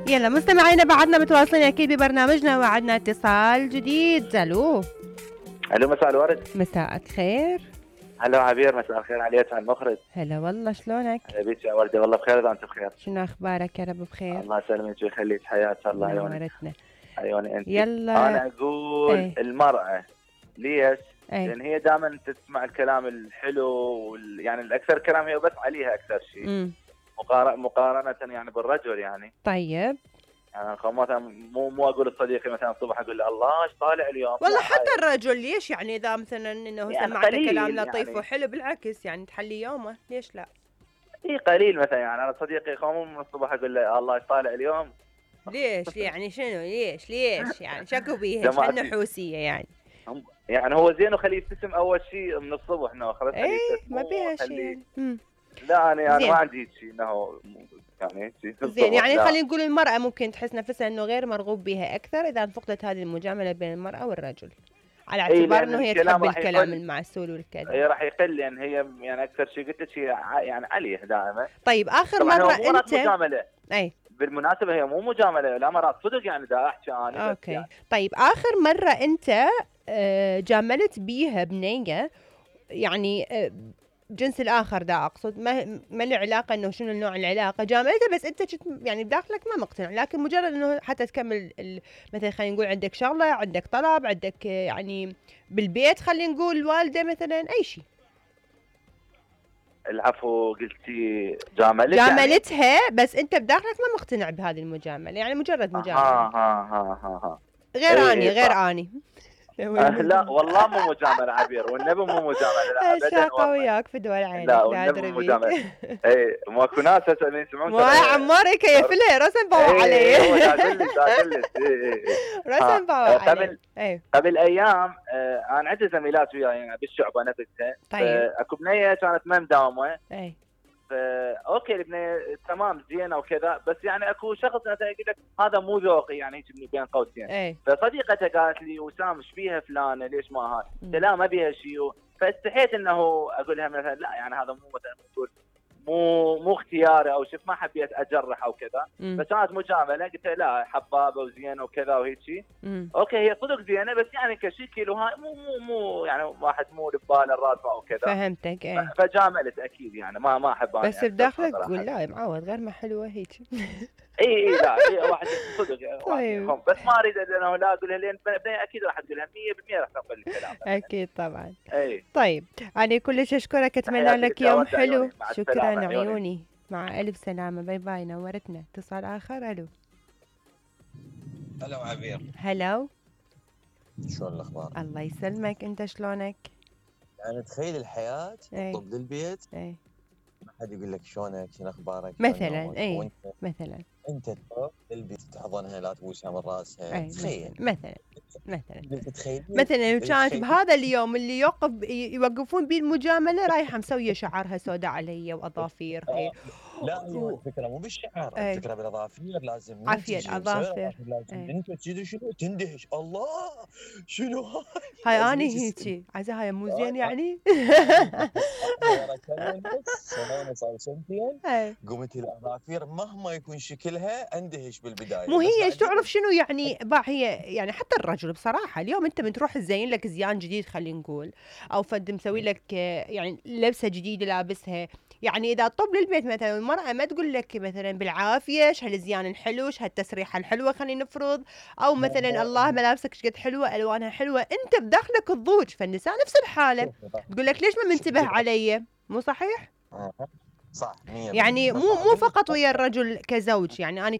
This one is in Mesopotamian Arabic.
يلا مستمعينا بعدنا متواصلين اكيد ببرنامجنا وعدنا اتصال جديد. الو مساء الورد. مساء الخير. هلا عبير، مساء الخير عليك على المخرج. هلا والله، شلونك؟ هلا بيك يا وردة، والله بخير اذا انت بخير. شنو اخبارك؟ يا رب بخير. الله يسلمك ويخليك، حياك الله. نورتنا. عيوني انت. يلا انا اقول المرأة ليش؟ لان هي دائما تسمع الكلام الحلو يعني الاكثر كلام هي بس عليها اكثر شيء مقارنة يعني بالرجل يعني. طيب يعني مثلا مو اقول لصديقي مثلا الصبح اقول له الله ايش طالع اليوم، والله حتى الرجل ليش يعني اذا مثلا انه يعني سمعته كلام لطيف يعني وحلو بالعكس يعني تحلي يومه، ليش لا؟ اي قليل مثلا يعني انا صديقي يقوم من الصبح اقول له الله ايش طالع اليوم. ليش يعني شنو ليش يعني شكو بيها شحال نحوسيه يعني هو زين وخليه يبتسم اول شيء من الصبح انه خلاص خليه يبتسم ما بيها شيء لا انا ما عندي شيء انه يعني زين يعني خلينا نقول المرأة ممكن تحس نفسها انه غير مرغوب بها اكثر اذا فقدت هذه المجاملة بين المرأة والرجل، على اعتبار انه هي تحب الكلام المعسول والكذا. هي راح يقل لان هي يعني اكثر شيء قلت لك هي يعني عليه دائما. طيب اخر مرة انت مجاملة. بالمناسبة هي مو مجاملة، لا مرات صدق يعني دا احكي انا. اوكي يعني. طيب اخر مرة انت جاملت بيها بنية يعني جنس الاخر دا اقصد، ما له علاقه انه شنو النوع العلاقه، جاملته بس انت يعني بداخلك ما مقتنع، لكن مجرد انه حتى تكمل مثلا خلينا نقول عندك شغله، عندك طلب، عندك يعني بالبيت خلينا نقول الوالده مثلا اي شيء. العفو، قلتي جاملتها يعني؟ بس انت بداخلك ما مقتنع بهذه المجامله، يعني مجرد مجامله. غير اني لا والله مو مجامله عبير، والنبي مو مجامله، لا ابدا. شاقه وياك في دول عينك، لا والنبي مو مجامله. اي ماكو ناس هسه يسمعون مو عمار كيفله رسم باو علي. هو داخلت رسم باو علي. قبل ايام انا عندي زميلات وياي يعني بالشعبه نفسها. طيب اكو بنيه كانت ما مداومه. اي اوكي البنيه تمام زينه وكذا، بس يعني اكو شخص مثلا يقول لك هذا مو ذوقي يعني هيك بين قوسين. فصديقتها قالت لي وسام ايش فيها فلانه ليش ما هاي؟ قلت لا ما بيها شيء، فاستحيت انه اقول لها مثلا لا يعني هذا مو مثلا مو اختياري او شيء، ما حبيت اجرح او كذا. فكانت مجامله، قلت لها لا حبابه وزينه وكذا وهيك شيء. اوكي هي صدق زينه، بس يعني كشكل وهاي مو يعني واحد مو بباله الراسه او كذا. فهمتك. فجاملت اكيد يعني ما احب انا بس بداخلك تقول لا معود غير ما حلوه هيك. اي لا هي واحد صدق. طيب. بس ما اريد انه لا اقولها لان اكيد راح تقولها 100% راح تقبل الكلام. اكيد طبعا. اي طيب انا كلش اشكرك، اتمنى لك يوم حلو. شكرا عيوني، مع الف سلامه، باي باي، نورتنا. اتصال اخر. الو هلا عبير. هلا، شلون الاخبار؟ الله يسلمك، انت شلونك؟ يعني تخيل الحياه تطب للبيت ما حد يقول لك شلونك شنو اخبارك مثلا. مثلا انت تروح للبيت تحضنها لا تبوسها من راسها. تخيل مثلا كانت بهذا اليوم اللي يوقفون بيه المجامله رايحه مسويه شعرها سوداء علي واظافيرها. لا هي الفكره مو بالشعر، الفكره بالاظافير. لازم عافيه الاظافر. انت تجي شنو تندهش الله شنو هاي اني هيجي عايزه هاي مو زين يعني. صار سنتين قمت الاظافير مهما يكون شكلها اندهش بالبدايه. مو هي تعرف شنو يعني هي يعني حتى الرجل بصراحه اليوم انت من تروح تزين لك زيان جديد خلينا نقول، او فد مسوي لك يعني لبسه جديده لابسها، يعني اذا طب للبيت مثلا المراه ما تقول لك مثلا بالعافيه ايش هالزيان الحلو ايش هالتسريحه الحلوه خلينا نفرض، او مثلا الله ملابسك ايش قد حلوه الوانها حلوه، انت بداخلك الضوج. فالنساء نفس الحاله تقول لك ليش ما منتبه علي؟ مو صحيح؟ صح 100%. يعني مو فقط ويا الرجل كزوج، يعني أنا